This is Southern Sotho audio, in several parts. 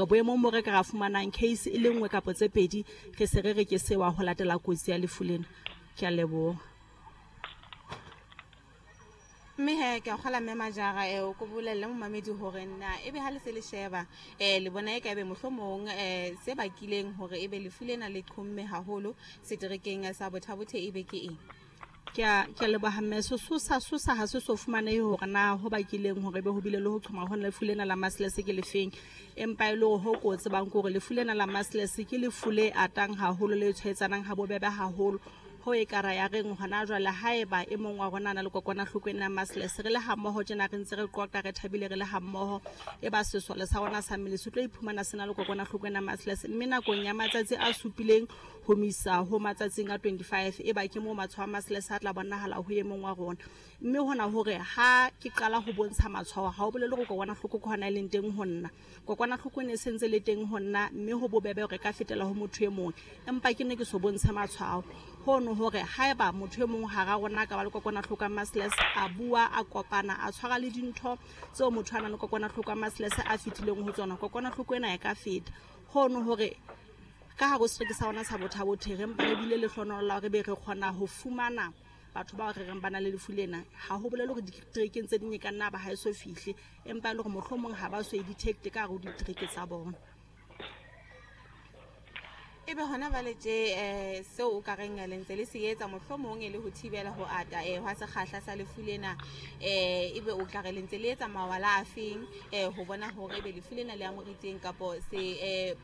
hore boemong bo re ka ra fumanang case e le nngwe kapa tse pedi re se re re ke sewa ho latela kotsi ya lefu lena. Ke a leboha. Mme he ke a kgola mme Majara o ko bolelle momamedi hore na ebe ha le se le sheba le bona e ka ebe mohlomong se bakileng hore ebe lefu lena le qhomme haholo seterekeng sa Botha-Bothe ebe ke eng? Ke a ke a leboha mme. Sesosa sosa ha se so fumanehe hore na ho bakileng hore ebe ho bile le ho qhoma hona lefu lena la measles ke lefeng. Empa e le hore ho ko tsebang ke hore lefu lena la measles ke lefu le atang haholo, le tshwaetsanang ha bobebe haholo. Ho e ka ra ya reng hona jwale haeba e mong wa rona a na le kokwanahloko ena ya measles, re le hammoho tjena re ntse re qoqa re thabile re le hammoho, e ba sesole sa rona sa mmele se tlo iphumana se na le kokwanahloko ena ya measles, mme nakong ya matsatsi a supileng ho misa ho matsatsing a 25 e ba ke moo matshwao a measles a tla bonahala ho e mong wa rona. Mme hona hore ha ke qala ho bontsha matshwao ha ho bolele hore kokwanahloko ke hona e leng teng ho nna. Kokwanahloko e ne e sentse le teng ho nna mme ho bobebe hore e ka fetela ho motho e mong, empa ke ne ke so bontshe matshwao. Hono hore haeba motho e mong hara rona a ka ba le kokwanahloko ya measles, a bua, a kopana, a tshwara le dintho tseo motho a nang le kokwanahloko ya measles a fetileng ho tsona, kokwanahloko ena e ka feta. Hono hore ka hare ho setereke sa rona sa Botha-Bothe re mpa re bile lehlohonolo la hore be re kgona ho fumana batho bao re reng ba na le lefu lena. Ha ho bolele hore diterekeng tse ding e ka nna ba ha e so fihle, empa e le hore mohlomong ha ba so e detect ka hare ho ditereke tsa bona. Ebe hona jwale tje seo o ka reng le ntse le se etsa mohlomong e le ho thibela ho ata hwa sekgahla sa lefu lena, ebe o tla re le ntse le etsa mawala a feng ho bona hore ebe lefu lena le amohetseng kapo se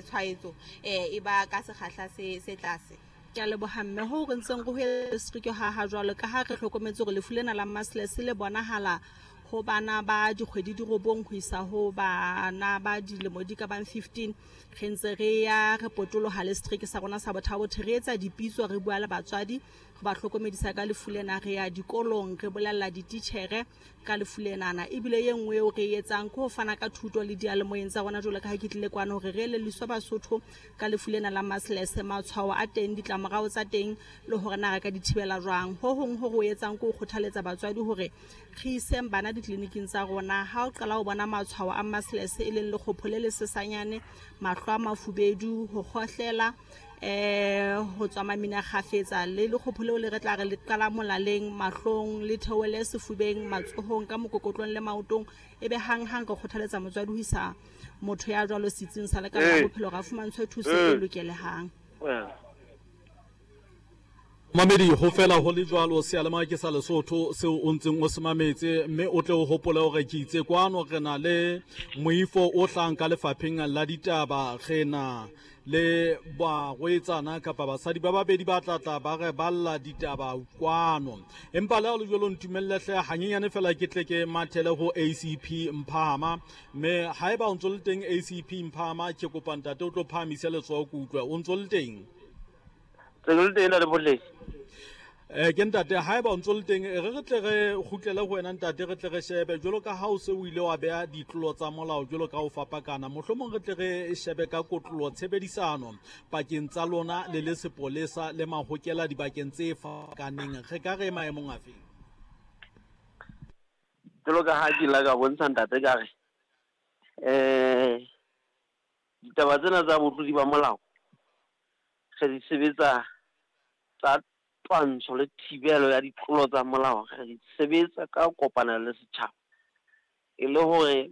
tshwaetso e ba ka sekgahla se tlase? Ke a leboha mme. Ho re ntseng re ho district ha ha jwalo ka ha re hlokometse hore lefu lena la measles le bonahala ho bana ba dikgwedi di robong ho isa ho bana ba dilemo di ka bang 15. Re ntse re ya re potoloha le setereke sa rona sa Botha-Bothe, re etsa dipitso, re bua le batswadi, re ba hlokomedisa ka lefu lena, re ya dikolong, re bolella dititjhere ka lefu lenana. Ebile e nngwe eo re e etsang ke ho fana ka thuto le diyalemoyeng tsa rona jwalo ka ha ke tlile kwano hore re elelliswe Basotho ka lefu lena la measles, matshwao a teng, ditlamorao tsa teng le hore na re ka di thibela jwang. Ho hong ho re o etsang ke ho kgothaletsa batswadi hore re iseng bana ditleliniking tsa rona. Ha o qala ho bona matshwao a measles e leng lekgopho le lesesanyane, mahlo a mafubedu, ho kgohlela, ho tswa mamina kgafetsa, le lekgopho leo le re tla re le qala molaleng, mahlong, le theohele sefubeng, matsohong, ka mokokotlong le maotong, ebe hang-hang re kgothaletsa motswadi ho isa motho ya jwalo setsing sa lekala la bophelo hore a fumantshwe thuso e lokelehang. Mamedi, ho fela ho le jwalo seyalemoya ke sa Lesotho seo o ntseng o se mametse, mme o tle o hopole hore ke itse kwano re na le moifo o hlang ka lefapheng la ditaba, re na le barwetsana kapa basadi ba babedi ba tla tla ba re balla ditaba kwano. Empa le ha le jwalo ntumelle hle hanyenyane fela ke tle ke mathele ho ACP Mphahama, mme haeba o ntso le teng ACP Mphahama, ke kopa ntate o tlo phahamise letsoho ke utlwe o ntso le teng. Tse le teng le boleng. Ke ntate, haeba o ntso le teng, re re tle re kgutlele ho wena ntate, re tle re shebe jwalo ka ha o se o ile wa beha ditlolo tsa molao jwalo ka ho fapakana, mohlomong re tle re shebe ka kotlolo tshebedisano pakeng tsa lona le le sepolesa le mahokela dibakeng tse fapakaneng, re ka re maemong afe? Jwalo ka ha ke la ka bontsha ntate ka re ditaba tsena tsa botlodi ba molao re di sebetsa tsa twantsho le thibelo ya ditlolo tsa molao, re di sebetsa ka kopanelo le setjhaba, e le hore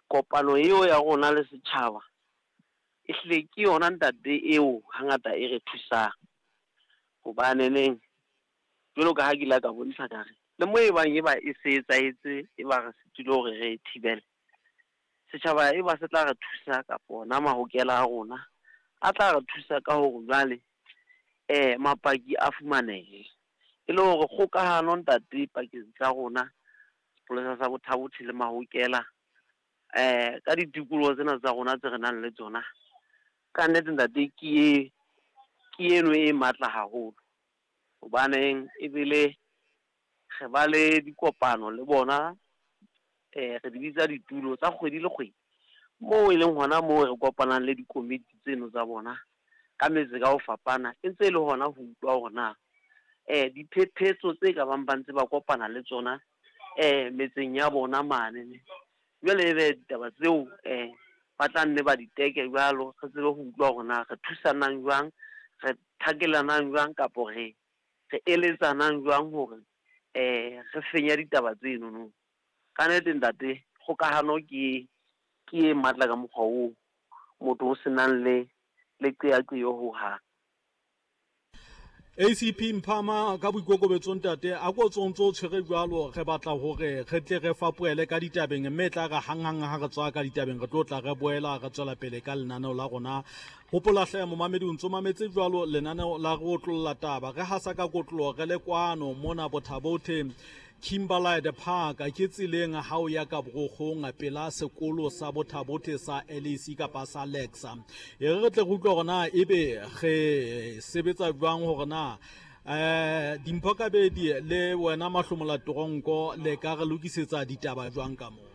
kopano eo ya rona le setjhaba e hlile ke yona ntate eo hangata e re thusang. Hobane neng jwalo ka ha ke ile ka bontsha ka re le mo e bang e ba e se etsahetse, e ba re sitile hore re e thibele, setjhaba e ba se tla re thusa kapa ona mahokela a rona a tla re thusa ka hore jwale mapaki a fumanehe, e le hore kgokahano ntate pakeng tsa rona sepolesa sa Botha-Bothe le mahokela ka ditikoloho tsena tsa rona tse re nang le tsona, ka nnete ntate ke eno e matla haholo. Hobaneng ebile re ba le dikopano le bona, re di bitsa ditulo tsa kgwedi le kgwedi, moo e leng hona moo re kopanang le dikomiti tseno tsa bona ka metse ka ho fapana, e ntse e le hona ho utlwa hore na diphephetso tse ka bang ba ntse ba kopana le tsona metseng ya bona mane, Jwale ebe ditaba tseo um ba tla nne ba di teke jwalo, re tsebe ho utlwa hore na re thusanang jwang, re thakelanang jwang kapo re re eletsanang jwang hore um re fenya ditaba tsenono. Ka nnete ntate, kgokahano ke ke e matla ka mokgwa oo motho o senang le le qeaqeo ho hang. ACP Mphama ka boikokobetso ntate a ko tso ntso tshwere jwalo re batla hore re tle re fapoele ka ditabeng mme tla re hanghang ha re tswa ka ditabeng re tlo tla re boela re tswela pele ka lenaneo la rona. Hopola hle momamedi o ntso mametse jwalo lenaneo la re otlolla taba re hasa ka kotlo re le kwano mona Bothabothe Kimberlite Park ke tseleng ha o ya ka Borokgong pela sekolo sa Bothabothe sa LAC kapa sa Lexa. E re re tle re utlwe hore na ebe re sebetsa jwang hore na eh Dimpho Kabedi le wena Mahlomola Toronko le ka re lokisetsa ditaba jwang ka moo.